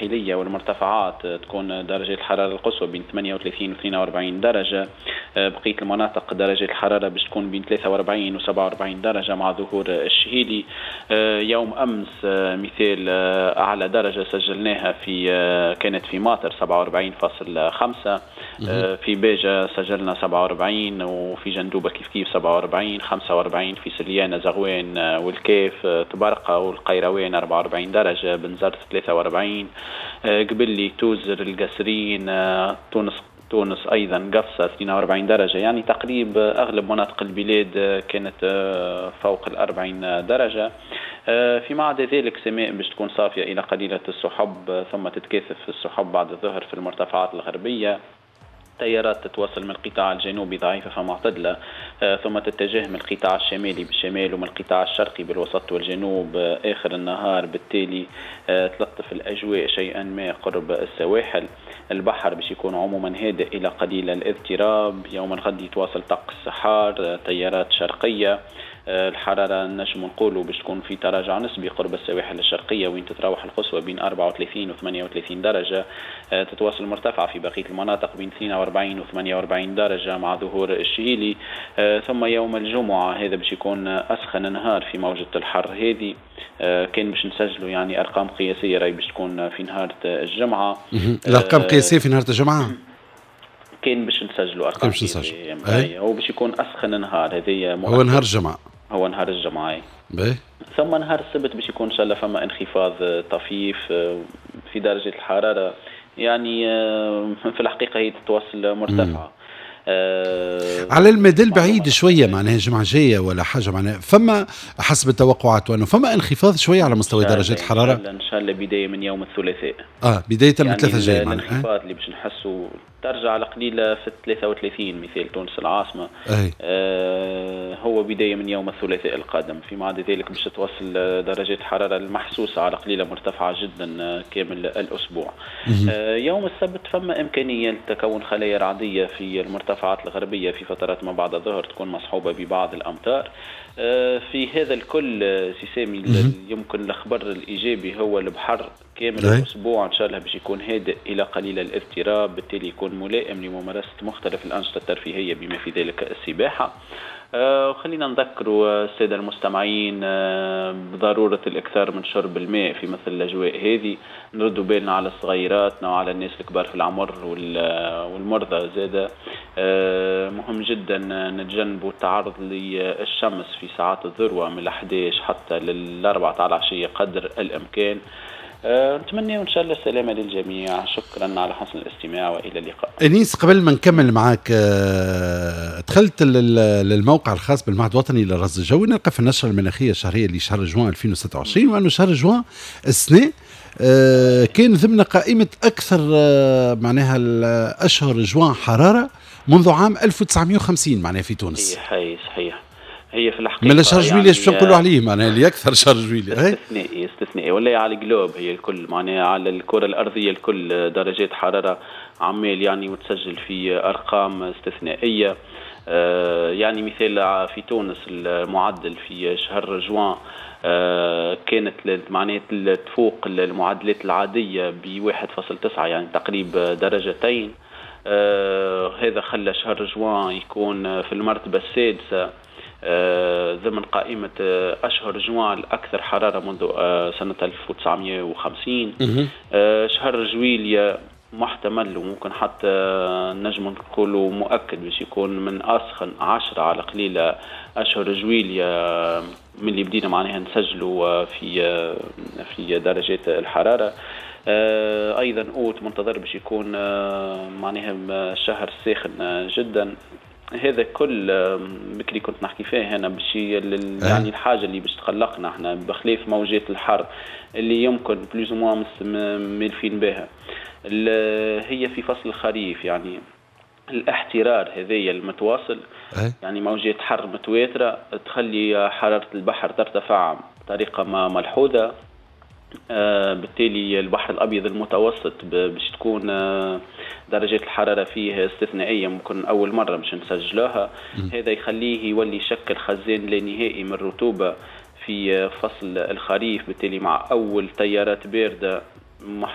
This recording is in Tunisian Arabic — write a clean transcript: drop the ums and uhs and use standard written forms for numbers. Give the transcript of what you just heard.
الساحلية والمرتفعات تكون درجة الحرارة القصوى بين 38 و 42 درجة. بقية المناطق درجة الحرارة باش تكون بين 43 و 47 درجة مع ظهور الشهيلي. يوم أمس مثال أعلى درجة سجلناها في كانت في ماطر 47.5، في باجة سجلنا 47، وفي جندوبة كيف كيف 47، 45 في سليانة زغوان والكاف، طبرقة والقيروان 44 درجة، بنزرت 43، قبلي توزر القصرين، تونس أيضا قفصة 42 درجة. يعني تقريبا أغلب مناطق البلاد كانت فوق 40 درجة. فيما عدا ذلك سماء باش تكون صافية إلى قليلة السحب، ثم تتكاثف السحب بعد الظهر في المرتفعات الغربية. تيارات تتواصل من القطاع الجنوبي ضعيفة فمعتدلة، ثم تتجه من القطاع الشمالي بالشمال ومن القطاع الشرقي بالوسط والجنوب آخر النهار، بالتالي تلطف الأجواء شيئا ما قرب السواحل. البحر باش يكون عموما هادئ إلى قليل الاضطراب. يوم الغد يتواصل طقس حار، تيارات شرقية، الحرارة نجم نقولوا باش تكون في تراجع نسبي قرب السواحل الشرقية وين تتراوح القصوى بين 34 و 38 درجة، تتواصل مرتفعة في بقية المناطق بين 42 و 48 درجة مع ظهور الشهيلي. ثم يوم الجمعة هذا باش يكون أسخن نهار في موجة الحر هذه، كان باش نسجلوا يعني أرقام قياسية راهي باش تكون في نهار الجمعة. الأرقام قياسية في نهار الجمعة؟ كان باش نسجلوا أرقام قياسية، هو باش يكون أسخن نهار هذه، هو نهار الجمعة، هو نهار الجمعة. ثم نهار السبت باش يكون إن شاء الله فما انخفاض طفيف في درجة الحرارة، يعني في الحقيقة هي تتواصل مرتفعة. على المدى البعيد شوية، معناها الجمعة الجاية ولا حاجة، معناها فما حسب التوقعات وأنه فما انخفاض شوية على مستوى درجات الحرارة. إن شاء الله بداية من يوم الثلاثاء. بداية من الثلاثاء الجاي معناها. الانخفاض اللي باش نحسوا ترجع على قليلة في 33 مثال تونس العاصمة. هو بداية من يوم الثلاثاء القادم. فيما عدا ذلك باش تتواصل درجات الحرارة المحسوسة على قليلة مرتفعة جدا كامل الأسبوع. يوم السبت فما إمكانية لتكون خلايا رعدية في المرتفعات الغربية في فترات ما بعد الظهر تكون مصحوبة ببعض الأمطار. في هذا الكل سي سامي يمكن الخبر الإيجابي هو البحر كامل الأسبوع إن شاء الله باش يكون هادئ إلى قليل الاضطراب، بالتالي يكون ملائم لممارسة مختلف الأنشطة الترفيهية بما في ذلك السباحة. خلينا نذكروا السادة المستمعين بضرورة الإكثار من شرب الماء في مثل الأجواء هذه، نردوا بالنا على صغيراتنا وعلى الناس الكبار في العمر والمرضى زادة. مهم جدا نتجنبوا التعرض للشمس في ساعات الذروة من 11 حتى لل4 تاع العشية قدر الإمكان. نتمنى إن شاء الله السلامة للجميع. شكرا على حسن الاستماع وإلى اللقاء. أنيس، قبل ما نكمل معك، دخلت للموقع الخاص بالمعهد الوطني للرصد الجوي، نلقى في النشرة المناخية الشهرية لشهر جوان 2026 وأنه شهر جوان السنة كان ضمن قائمة أكثر معناها الأشهر جوان حرارة منذ عام 1950 معناها في تونس. صحيح، هي في الحقيقة من شهر جويلية باش نقولوا عليه معناها اللي أكثر شهر جويلية استثنائي ولا على ال globe هي الكل، معناها على الكرة الأرضية الكل درجات حرارة عمال يعني وتسجل في أرقام استثنائية. يعني مثال في تونس المعدل في شهر جوان كانت معناها تفوق المعدلات العادية ب 1.9 يعني تقريبا درجتين. هذا خلى شهر جوان يكون في المرتبة السادسة ضمن قائمة أشهر جوان الأكثر حرارة منذ سنة 1950. شهر جويليا محتمل وممكن حتى نجم نقولوا مؤكد باش يكون من أسخن 10 على قليلة أشهر جويليا من اللي بدينا معناها نسجلوا في درجات الحرارة. أيضا أوت منتظر باش يكون معناها شهر ساخن جدا. هذا كل بكري كنت نحكي فيه انا باش يعني الحاجة اللي باش تقلقنا احنا بخلاف موجات الحر اللي يمكن plus ou moins ملفين بها، هي في فصل الخريف يعني الاحترار هذايا المتواصل، يعني موجات حر متواترة تخلي حرارة البحر ترتفع بطريقة ما ملحوظة. بالتالي البحر الأبيض المتوسط باش تكون درجات الحرارة فيه استثنائية، ممكن أول مرة باش نسجلوها. هذا يخليه يولي شكل خزان لا نهائي من الرطوبة في فصل الخريف، بالتالي مع أول تيارات باردة